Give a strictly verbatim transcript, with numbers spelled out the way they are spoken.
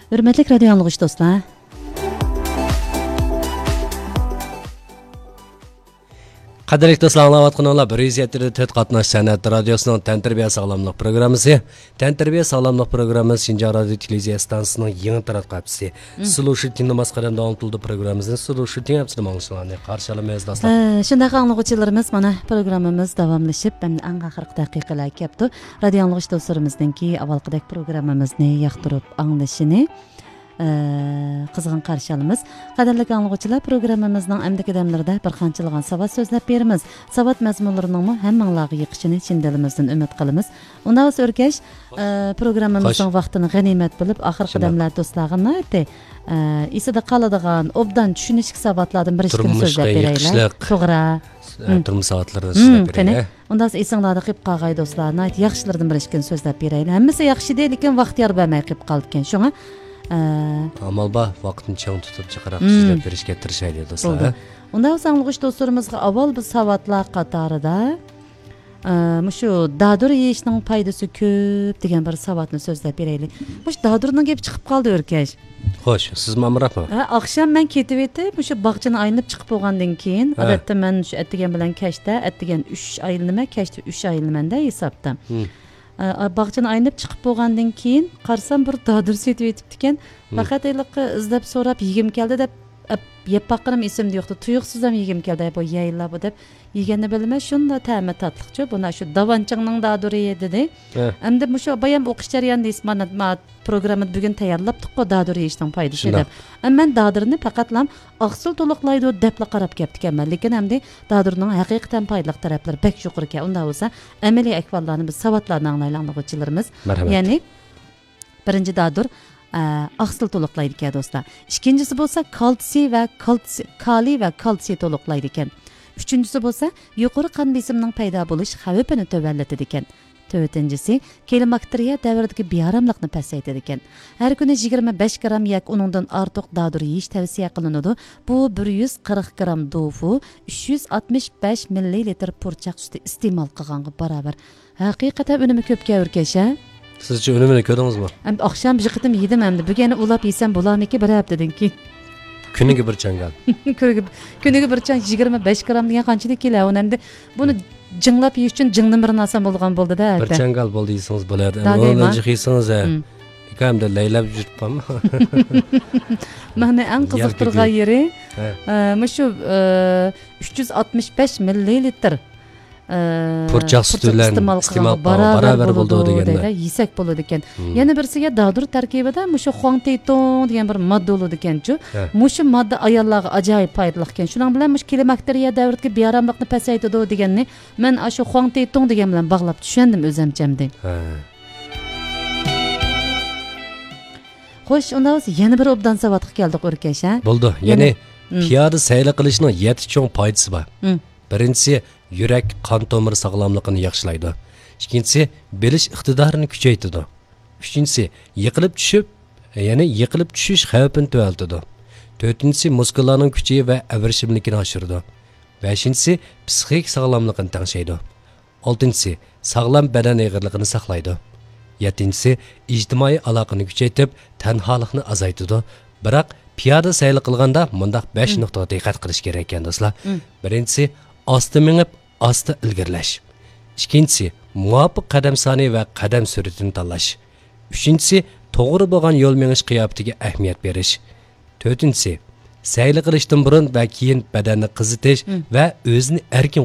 ھۆرمەتلىك رادىيو ئاڭلىغۇچى دوستلار. قەدىرلىك دوستلار، ئاڭلاۋاتقىنىڭلار بىر يۈز يەتتە تۆت قاتناش سەنئەت رادىيوسىنىڭ تەنتەربىيە ساغلاملىق پروگراممىسى. تەنتەربىيە ساغلاملىق پروگراممىسى شىنجاڭ رادىيو تېلېۋىزىيە ئىستانسىسىنىڭ يېڭى تاراتقۇ ھەپتىسى. سلوشىتىڭدا ماسقىدىن داۋام قىلىدۇ پروگراممىمىزنى. سلوشىتىڭ ھەپتىسىدە ماڭىشىڭلارنى قارشى ئالىمىز، دوستلار. ھە، شۇنداق ئاڭلىغۇچىلىرىمىز، مانا پروگراممىمىز داۋاملىشىپ، ئەمدى ئەڭ ئاخىرقى دەقىقىلەرگە كەپتۇ. رادىيو ئاڭلىغۇچى دوستلىرىمىزنىڭكى ئاۋۋالقىدەك پروگراممىمىزنى ياقتۇرۇپ ئاڭلىشىنى، ئە، قىزغىن قارشى ئالىمىز. قەدىرلىك ئاڭلىغۇچىلار، پروگراممىمىزنىڭ ئەمدىكى دەملىرىدە بىر قانچىلىغان ساۋات سۆزلەپ بېرىمىز. ساۋات مەزمۇنلىرىنىڭمۇ ھەممىڭلارغا يېقىشىنى چىن دىلىمىزدىن ئۈمىد قىلىمىز. ئۇنداق بولسا ئۆركەش، ئە، پروگراممىمىزنىڭ ۋاقتىنى غەنىيمەت بىلىپ، ئاخىرقى دەملەر دوستلارغا ناھايىتى، ئە، ئېسىدە قالىدىغان، ئوبدان چۈشىنىشلىك ساۋاتلاردىن بىرەر ئىككىنى سۆزلەپ بېرەيلى. توغرا. ئە، تۇرمۇش ساۋاتلىرىنى سۆزلەپ بېرەيلى. قېنى. ئۇنداق ئېسىڭلاردا قېلىپ قالغاي دوستلار، ناھايىتى ياخشىلىرىدىن بىر ئىككىنى سۆزلەپ بېرەيلى. ھەممىسى ياخشى ئىدى، لېكىن ۋاقىت يار بەرمەي قېلىپ قالىدىكەن. شۇڭا، ئە، ئامال بار، ۋاقىتنى چىڭ تۇتۇپ جىقراق سۆزلەپ بېرىشكە تىرىشايلى دوستلار. بولدى. ئۇنداق بولسا ئاڭلىغۇچى دوستلىرىمىزغا ئاۋۋال بىز ساۋاتلار قاتارىدا، ئە، مۇشۇ دادۇر يېيىشنىڭ پايدىسى كۆپ دېگەن بىر ساۋاتنى سۆزلەپ بېرەيلى. مۇشۇ دادۇرنىڭ گېپى چىقىپ قالدى ئۆركەش. خوش، سىزمۇ ئامراقمۇ؟ ھە، ئاخشام مەن كېتىۋېتىپ، مۇشۇ باغچىنى ئايلىنىپ چىقىپ بولغاندىن كېيىن، ئادەتتە مەن شۇ ئەتىگەن بىلەن كەچتە، ئەتىگەن ئۈچ ئايلىنىمەن، كەچتە ئۈچ ئايلىنىمەن-دە ھېسابتا. ئە، باغچىنى ئايلىنىپ چىقىپ بولغاندىن كېيىن قارىسام، بىر دادۇر سېتىۋېتىپتىكەن. پەقەت ھېلىقى ئىزدەپ سوراپ يېگۈم كەلدى دەپ، ئەپ، يەپ باققىنىم ئېسىمدە يوقتۇ. تۇيۇقسىزلا يېگۈم كەلدى، بۇ يەيلا بۇ دەپ. يېگەندە بىلىمەن، شۇنداق تەمى تاتلىقچۇ. بۇنا شۇ داۋانچىڭنىڭ دادۇرى دېدى. ئەمدى مۇشۇ بايام ئوقۇش جەريانىدا مانا، ما، پروگراممىدا بۈگۈن تەييارلاپ تۇققۇ دادۇر يېيىشنىڭ پايدىسى دەپ. ئەمما مەن دادۇرنى پەقەتلام ئاقسىل تولۇقلايدۇ دەپلا قاراپ كەپتىكەنمەن. لېكىن ئەمدى دادۇرنىڭ ھەقىقەتەن پايدىلىق تەرەپلىرى بەك يۇقىرىكەن. ئۇنداق بولسا ئەمەلىي ئەھۋاللارنى بىز ساۋاتلاردىن ئاڭلايلى ئاڭلىغۇچىلىرىمىز. يەنى بىرىنچى دادۇر، ئە، ئاقسىل تولۇقلايدىكەن دوستلار. ئىككىنچىسى بولسا كالتسىي ۋە كالتسىي، كالىي ۋە كالتسىي تولۇقلايدىكەن. ئۈچىنچىسى بولسا يۇقىرى قان بېسىمىنىڭ پەيدا بولۇش خەۋپىنى تۆۋەنلىتىدىكەن. تۆتىنچىسى، كلىماكتېرىيە دەۋرىدىكى بىئاراملىقنى پەسەيتىدىكەن. ھەر كۈنى يىگىرمە بەش گرام ياكى ئۇنىڭدىن ئارتۇق دادۇر يېيىش تەۋسىيە قىلىنىدۇ. بۇ بىر يۈز قىرىق گرام دوفۇ، ئۈچ يۈز ئاتمىش بەش مىللىلىتىر پۇرچاق سۈتى ئىستېمال قىلغانغا باراۋەر. ھەقىقەتەن ئۈنۈمى كۆپكەن ئۆركەش، ھە؟ سىزچە ئۈنۈمىنى كۆردىڭىزمۇ؟ ئەمدى ئاخشام بىر قېتىم يېدىم، ئەمدى بۈگۈن يەنە ئۇلاپ يېسەم بولارمىكىن بىر ھەپتىدىن كېيىن؟ كۈنىگە بىر چاڭگال. كۈنىگە، كۈنىگە بىر چاڭ، يىگىرمە بەش گرام دېگەن قانچىلىك كېلە؟ ئۇنى ئەمدى بۇنى جىڭلاپ يېيىش ئۈچۈن جىڭنېمىرنى ئالسام بولغان بولدى-دە، بىر چاڭگال بولدى دېسىڭىز بولىدۇ. داگايما. ئۇنىڭدىن جىق يېسىڭىز، ھە. ھىم. ئىكەم دە لەيلەپ يۈرۈپ قالما. مانا ئەڭ قىزىقتۇرغان يېرى، ھە، ئە، مۇشۇ، ئە، ئۈچ يۈز ئاتمىش بەش مىللىلىتىر، ئە، پۇرچاق سۈتى بىلەن ئىستېمال قىلغانغا باراۋەر بولىدۇ دەيدۇ، يېسەك بولىدىكەن. يەنە بىرسىگە دادۇر تەركىبىدە مۇشۇ خۇاڭتېيتۇڭ دېگەن بىر ماددا بولىدىكەنچۇ. ھە. مۇشۇ ماددا ئاياللارغا ئاجايىپ پايدىلىقكەن. شۇنىڭ بىلەن مۇشۇ كلىماكتېرىيە دەۋرىدىكى بىئاراملىقنى پەسەيتىدۇ دېگەننى مەن ئاشۇ خۇاڭتېيتۇڭ دېگەن بىلەن باغلاپ چۈشەندىم ئۆزەمچە ئەمدى. ھە. خوش، ئۇنداق بولسا يەنە بىر ئوبدان ساۋاتقا كەلدۇق ئۆركەش، ھە؟ بولدى. يەنى، يەنى، ھىم، پىيادە سەيلە قىلىشنىڭ يەتتە چوڭ پايدىسى بار. ھىم. بىرىنچىسى، يۈرەك، قان تومۇر ساغلاملىقىنى ياخشىلايدۇ. ئىككىنچىسى، بىلىش ئىقتىدارىنى كۈچەيتىدۇ. ئۈچىنچىسى، يىقىلىپ چۈشۈپ، يەنى يىقىلىپ چۈشۈش خەۋپىنى تۆۋەنلىتىدۇ. تۆتىنچىسى، مۇسكۇللارنىڭ كۈچى ۋە ئەۋرىشىملىكىنى ئاشۇرىدۇ. بەشىنچىسى، پسىخىك ساغلاملىقىنى تەڭشەيدۇ. ئالتىنچىسى، ساغلام بەدەن ئېغىرلىقىنى ساقلايدۇ. يەتتىنچىسى، ئىجتىمائىي ئالاقىنى كۈچەيتىپ، تەنھالىقنى ئازايتىدۇ. بىراق، پىيادە سەيلە قىلغاندا مۇنداق بەش، ھىم، نۇقتىغا دىققەت قىلىش كېرەك ئىكەن، دوستلار. ھىم. بىرىنچىسى، ئاستا مېڭىپ، ئاستا ئىلگىرىلەش. ئىككىنچىسى، مۇۋاپىق قەدەم سانى ۋە قەدەم سۈرئىتىنى تاللاش. ئۈچىنچىسى، توغرا بولغان يول مېڭىش قىياپىتىگە ئەھمىيەت بېرىش. تۆتىنچىسى، سەيلە قىلىشتىن بۇرۇن ۋە كېيىن بەدەننى قىزىتىش، ھىم، ۋە ئۆزىنى ئەركىن